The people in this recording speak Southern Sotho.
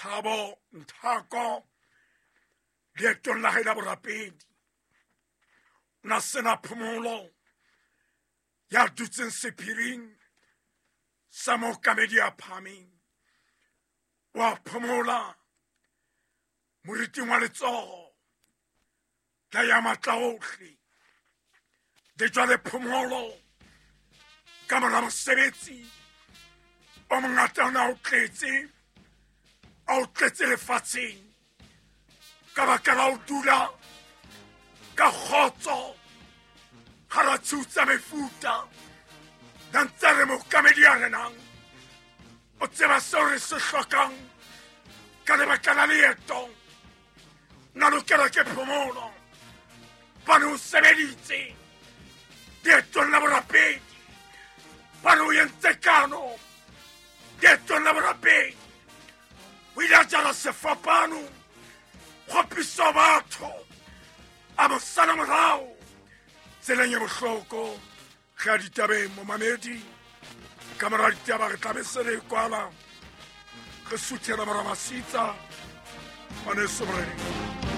Thabo Nthako leetong la hae la borapedi. O na sena phomolo ya dutseng sephiring sa mookamedi ya phahameng. Wa phomola moriting wa letsoho la ya matla ohle. Le jwale phomolo ka mora mosebetsi o mongata o ne a o tletse, a o tletse lefatsheng ka baka la ho dula ka kgotso hara tshiu tsa mefuta. Na ntse re mookamedi ya renang o tseba seo re se hlokang ka lebaka la leeto. Na lokela ke phomolo bane o sebeditse leetong la borapedi, bane o entse kano leetong la borapedi. O ile a jala sefapano kgopiso batho a mo sala morao tseleng e bohloko. Ge a ditabeng momamedi, ka mora ditaba re tlabe se re kwala re suthela mora masitsa ngwaneso moreneng.